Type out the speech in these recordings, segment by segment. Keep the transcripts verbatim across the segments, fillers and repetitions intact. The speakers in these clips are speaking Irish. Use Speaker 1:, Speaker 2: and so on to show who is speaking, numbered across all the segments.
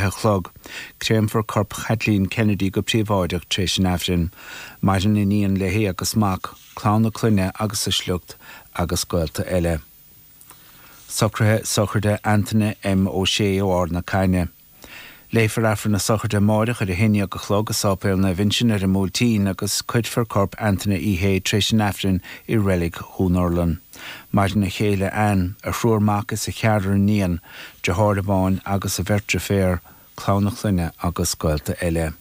Speaker 1: a chlog. Créamfar corp Chaitlín Kennedy go príobháideach tar éis an Aifrinn. Maireann iníon léi agus mac, clann a clainne agus a sliocht agus gaolta eile. Socruithe sochraide Antaine M. Ó Sé ó Ard na Caithne. Léifear Aifreann na sochraide amárach ar a haon déag a chlog i Sáipéal Naomh Uinseann ar an mBuailtín agus cuirfear corp Antaine Uí Shé tar éis an Aifrinn i reilig Dhún Urlann. Maireann a chéile Ann, a thriúr mac is a cheathrar iníon, deartháir amháin agus a bheirt deirféar, clann a clainne agus gaolta eile.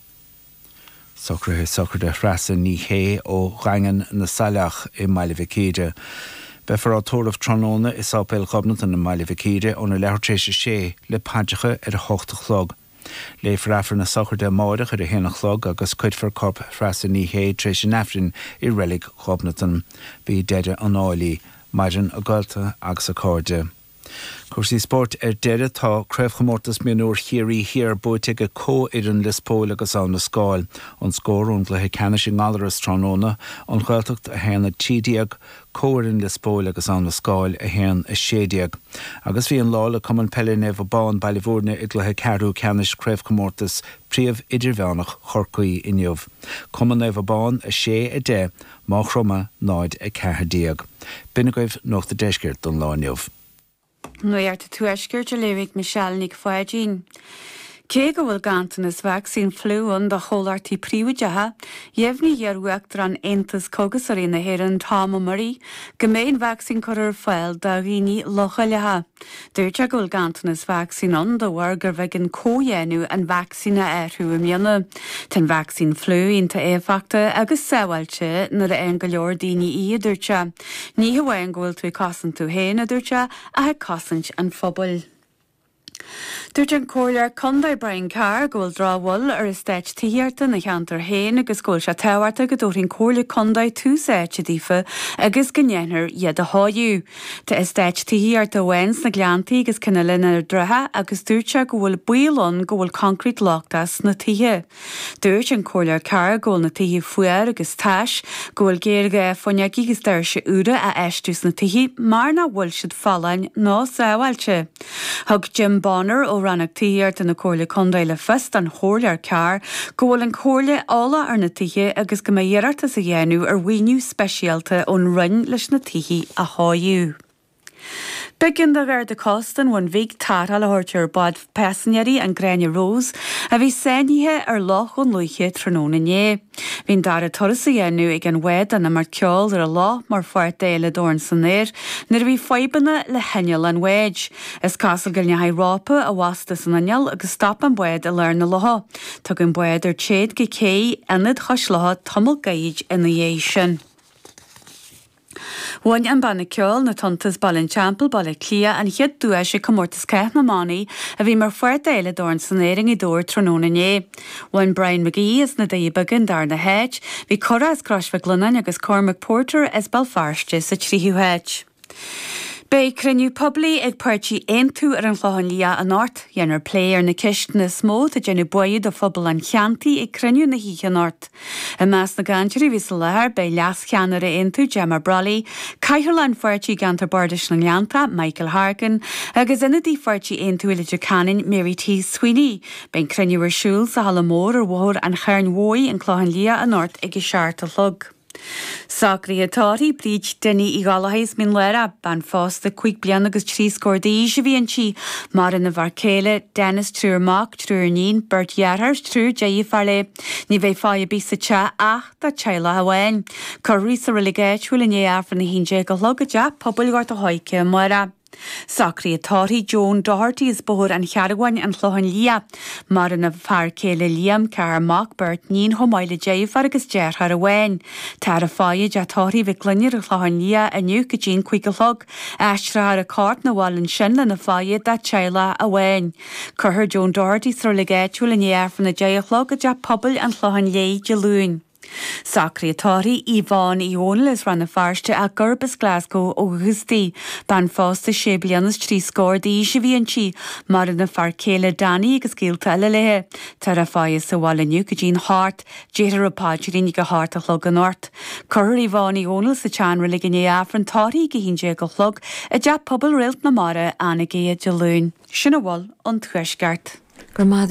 Speaker 1: Socruithe sochraide Threasa Ní Shé ó Dhaingean na Saileach i mBaile Mhic Íre. Beifear á tórramh tráthnóna i Sáipéal Ghobnatan i mBaile Mhic Íre óna leathuair tar éis a sé le paidreacha ar a hocht a chlog. Léifear Aifreann na sochraide amárach ar a haon a chlog agus cuirfear corp Threasa Ní Shé tar éis an Aifrinn i reilig Ghobnatan. B'í deireadh an áil í. Maireann a gaolta agus a cairde. Cúrsaí spóirt ar deireadh tá Craobhchomórtas Mionúr Chiarraí Thiar buaite ag comhfhoireann Lios Póil agus Abha na Scáil. An scór ón gcluiche ceannais i nGallaras tráthnóna, An Ghaeltacht a haon a trí déag, comhfhoireann Lios Póil agus Abha na Scáil a haon a sé déag. Agus bhí an lá le Cumann Peile Naomh Abán Baile Bhúirne i gcluiche ceathrú ceannais Craobhchomórtas Príomh Idirmheánach Chorcaí inniu. Cumann Naomh Abán a sé a deich, Maigh Chromtha náid a ceathair déag. B'in agaibh Nuacht an Deiscirt don lá inniu.
Speaker 2: Nuacht an Tuaiscirt a léifidh Michelle Nic Pháidín. Cé go bhfuil ganntanas vacsaín fliú ann do chomhlachtaí príobháideacha, dheimhnigh iar-uachtarán Aontas Cógasóirí na hÉireann Tom Ó Muirí go mbeidh an vacsaín curtha ar fáil do dhaoine leochaileacha. Dúirt sé go bhfuil ganntanas vacsaín ann de bharr gurbh éigean comhdhéanamh an vacsaín a athrú i mbliana. Tá an vacsaín fliú iontach éifeachtach agus sábháilte nuair a fhaigheann go leor daoine í, a dúirt sé. Ní hamháin go bhfuil tú ag cosaint tú féin, a dúirt sé, ach ag cosaint an phobail. Dúirt an Comhairleoir Contae Brian Carr go bhfuil drochbhail ar eastáit tithíochta ina cheantar féin agus go bhfuil sé tábhachtach go dtabharfaidh an Comhairle Contae tús áite daofa agus go ndéanfar iad a chóiriú. Tá eastát tithíochta amháin sna Gleanntaí agus ceann eile in Ard an Rátha agus dúirt sé go bhfuil baol ann go bhfuil concrete lochtach sna tithe. Dúirt an Comhairleoir Carr go bhfuil na tithe fuar agus tais, go bhfuil géarghá fuinneoga agus doirse úra a fheistiú sna tithe mar nach bhfuil siad folláin ná sábháilte. Thug Jim Bonner ó Rannóg Tithíochta na Comhairle Contae le fios don Chomhairleoir Carr go bhfuil an Chomhairle eolach ar na tithe agus go mbeidh iarratas á dhéanamh ar mhaoiniú speisialta ón Roinn leis na tithe a chóiriú. B'éigean do Gharda Cósta an Bhun Bhig tarrtháil a thabhairt ar bhád paisinéirí an Gráinne Rose a bhí sáinnithe ar Loch Dhún Lúiche tráthnóna inné. Bhí an dara turas á dhéanamh ag an bhád don imeacht ceoil ar an loch mar pháirt d'Fhéile Dorn san Aer nuair a bhí fadhbanna le hinneall an bháid. Is cosúil go ndeachaigh rópa i bhfostú san inneall agus stop an bád i lár na locha. Tugadh an bád ar téad go cé ionad Chois Locha tamall gairid ina dhiaidh sin. Bhain an banna ceoil na Tonnta as Baile an Teampaill, Baile Átha Cliath, an chéad duais ag comórtas Cath na mBannaí a bhí mar pháirt d'Fhéile Dorn san Aer i nGaoth Dobhair tráthnóna inné. Bhain Brian McGee as na Doirí Beaga an darna háit, bhí Cora as Crois Mhic Lionnáin agus Cormac Porter as Béal Feirste sa tríú háit. Beidh cruinniú poiblí ag páirtí Aontú ar an Chlochán Liath anocht. Dhéanfar plé ar na ceisteanna is mó atá ag déanamh buartha do phobal an cheantair ag cruinniú na hoíche anocht. I measc na gcainteoirí a bhí sa láthair beidh leascheannaire Aontú Gemma Brolly, Cathaoirleach an pháirtí i gceantar Bardais na nGleanntach, Michael Harkin, agus ionadaí pháirtí Aontú i Leitir Ceanainn, Mary T. Sweeney. Beidh an cruinniú ar siúl sa halla mór ar Bhóthar an Chairn Mhóir, an Clochán Liath anocht ag a seacht a chlog. Socruithe tórraimh Bríd Dinny Uí Ghallchóir as Mín Lárach, bean phósta cúig bliana agus trí scór d'aois a bhí inti, maireann a fear céile, Dennis triúr mac, triúr iníon, beirt dheartháir, triúr deirfiúr léi. Ní bheidh faire ar bith sa teach ach dá teaghlach amháin. Cuirfear í sa reilig áitiúil i ndiaidh Aifreann a haon déag a chlog i dteach pobail Ghort a' Choirce amárach. Socruithe tórraimh Joan Doherty as Bóthar an Chearbháin an Clochán Liath. Maireann a fear céile Liam, ceathrar mac, beirt níon chomh maith le deirfiúr agus deartháir amháin. Táthar ag faire i dteach tórraimh Mhic Gloinn ar an Chlochán Liath inniu go dtí an cúig a chlog. Aistreofar a corp 'na bhaile ansin lena faire dá teaghlach amháin. Cuirfear Joan Doherty sa reilig áitiúil i ndiaidh Aifreann a deich a chlog i dteach pobail an Chlocháin Léith Dé Luain. Socruithe tórraimh Yvonne Uí Dhónaill as Rann na Feirste ach gurb as Glasgow ó dhúchas di. Bean phósta sé bliana is trí scór d'aois a bhí inti, maireann a fear céile Danny agus gaolta eile léi. Táthar á faire sa bhaile inniu go dtí'n hocht, déarfar an paidrín ag a hocht a chlog anocht. Cuirfear Yvonne Uí Dhónaill sa tseanreilig i ndiaidh Aifreann tórraimh ag a haon déag a chlog i dteach pobail Réalt na Mara, Anagaire Dé Luain. Sin a bhfuil ón Tuaisceart.
Speaker 3: Gur maith